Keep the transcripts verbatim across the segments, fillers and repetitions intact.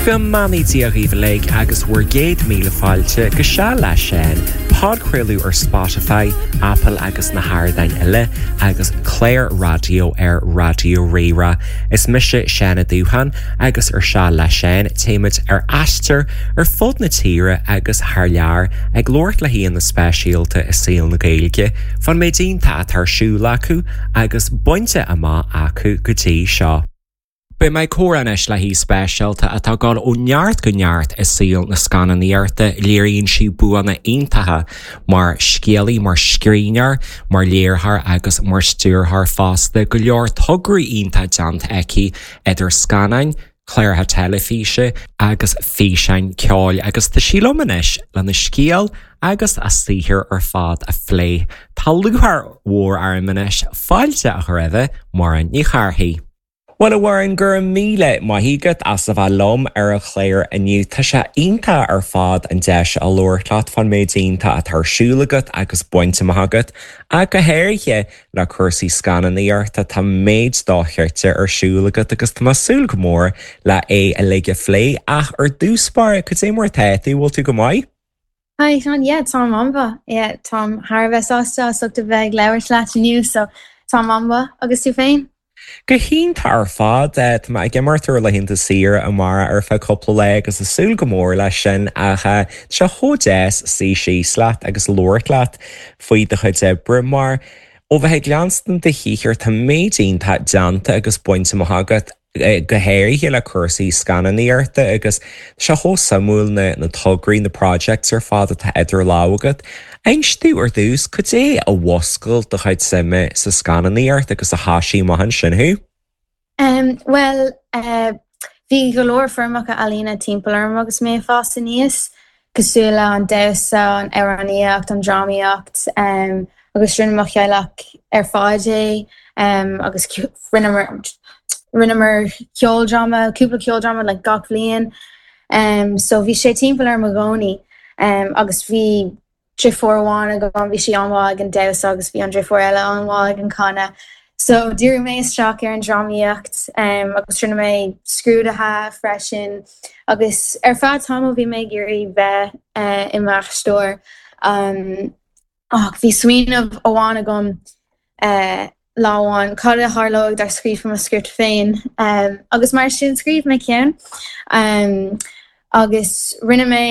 Go mbeannaí Dia dhaoibh uilig agus bhur gcéad míle fáilte go Seal le Seán, podchraoladh ar Spotify, Apple agus na hardáin eile agus clár raidió ar Raidió Rí-Rá. Is mise Seán Ó Dúcháin agus ar Seal le Seán téimid ar aistear ar fud na tíre agus thar lear ag labhairt le haíonna speisialta i saol na Gaeilge, fán méid iontach atá ar siúl acu agus bainte amach acu go dtí seo. Beidh mé ag comhrá anois le haoi speisialta atá ag dul ó neart go neart i saol na scannánaíochta léiríonn sí buanna iontacha mar scéalaí mar scríbhneoir, mar léiritheoir agus mar stiúrthóir fosta go leor tograí iontacha déanta aici idir scannáin, cláracha teilifíse agus físeáin ceoil agus tá sí liom anois lena scéal agus a saothar ar fad a phlé. Tá lúcháir mhór orm anois fáilte a chur roimh Muireann Ní Chárthaigh. Well a Mhuireann go raibh míle maith agat as a bheith liom ar an chlár inniu Tá sé iontach ar fad an deis a labhairt leat fán méid iontach atá ar siúl agat agus bainte amach agat ach go háirithe le cúrsaí scannánaíochta tá méid dochreidte ar siúl agat agus tá mé ag súil go mór le é uilig a phlé ach ar dtús báire cad é mar atá tú bhfuil tú go maith? Hi Seán, yeah, táim an-mhaith. Yeah, táim thar a bheith sásta as ucht a bheith ag labhairt leat inniu, so táim an-mhaith agus tú féin? Go hiontach ar fad Tá mé ag imeacht ar laethanta saoire amárach ar feadh cúpla lá agus ag súil go mór leis sin ach sé chomh deas suí síos leat agus labhairt leat faoi do chuid oibre mar ó bheith ag leanstan do shaothar tá méid iontach déanta agus bainte amach agat go háirithe le cúrsaí scannánaíochta agus sé chomh suimiúil na na tograí na projects ar fad atá idir lámha agat. Inis domh ar dtús cad é a mhúscail do chuid suime sa scannánaíocht agus a thosaigh amach ansin thú? Um, well, uh, bhí go leor foirmeacha ealaíne timpeall orm agus mé ag fás aníos, cosúil le an damhsa, an amhránaíocht, an drámaíocht, um, agus rinne mo theaghlach ar fad é um, agus rinneamar rinneamar ceoldráma, cúpla ceoldráma le gach bliain. Um, so bhí sé timpeall orm i gcónaí um, agus bhí deirfiúr amháin agam bhí sí an-mhaith ag an damhsa agus bhí an deirfiúr eile an-mhaith ag an canadh. So dhírigh mé isteach ar an drámaíocht um, agus rinne mé scrúduithe freisin agus ar feadh tamaill bhí mé ag iarraidh bheith uh, i m'aisteoir. Um, ach bhí smaoineamh amháin agam uh, lá amháin cad a tharlódh dá scríobh mo script féin um, agus mar sin scríobh mé ceann um, agus rinne mé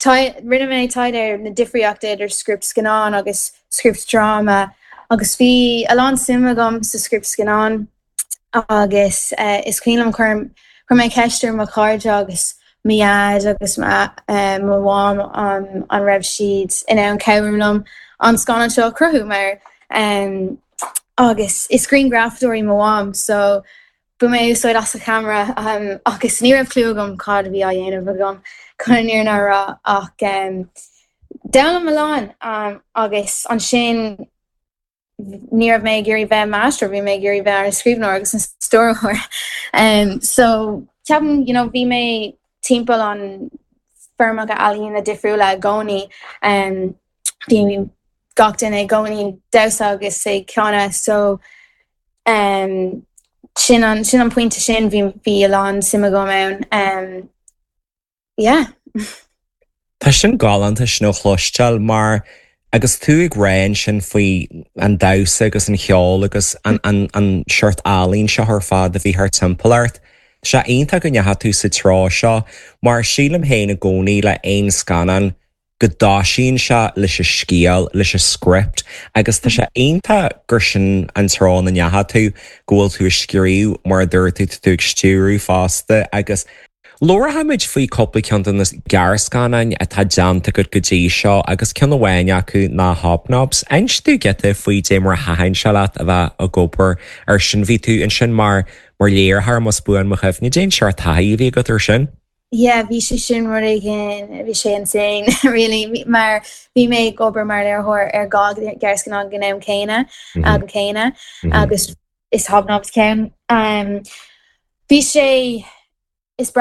rinne mé taighde ar na difríochtaí idir script scannán agus script dráma agus bhí a lán suim agam sa script scannán agus uh, is cuimhin liom chuir chuir mé ceist ar mo chairde agus mo dhaid agus uh, mo mham um, an raibh siad in ann cabhrú liom an scannán seo cruthú mar um, agus is grianghrafadóir í mo mham so bhain mé úsáid as a camera um, agus ní raibh clue agam cad a bhí á dhéanamh agam chun an fhírinne a rá ach um, d'fhoghlaim mé a lán um, agus ansin ní raibh mé ag iarraidh bheith m'aisteoir bhí mé ag iarraidh bheith ar an scríbhneoir agus an stiúrthóir um, so ceapaim you know, bhí mé timpeall an foirmeacha ealaíne difriúla i gcónaí um, bhí gach duine i gcónaí damhsa agus ag canadh so um, sin an sin an pointe sin bhí bhí a lán suim agam ann um, yeah. Tá sin galánta sin a chloisteáil mar agus tú ag rá ansin faoi an damhsa agus an cheol agus an, an, an seort ealaín seo ar fad a bhí thart timpeall ort. Sé iontach go ndeachaigh tú sa treo seo mar sílim féin i gcónaí le aon scannán go dtosaíonn sé leis an scéal leis an script agus tá sé iontach gur sin an treo ina ndeachaigh tú go bhfuil tú ag scríobh mar a dúirt tú tú ag stiúradh fosta agus Labharfaimid faoi cúpla ceann de na gearrscannáin atá déanta agat go dtí seo agus ceann amháin acu ná Hobnobs. Inis domh giota faoi dé mar a thaitin sé leat a bheith ag obair ar sin bhí tú ansin mar mar léiritheoir más buan mo chuimhne cén seort taithí a bhí agat ar sin. Yeah, bhí sé sin rud éigin bhí sé insane really mar bhí mé ag obair mar léiritheoir ar dhá ghearrscannán ag an am céanna go céanna agus is Hobnobs ceann. Um, bhí sé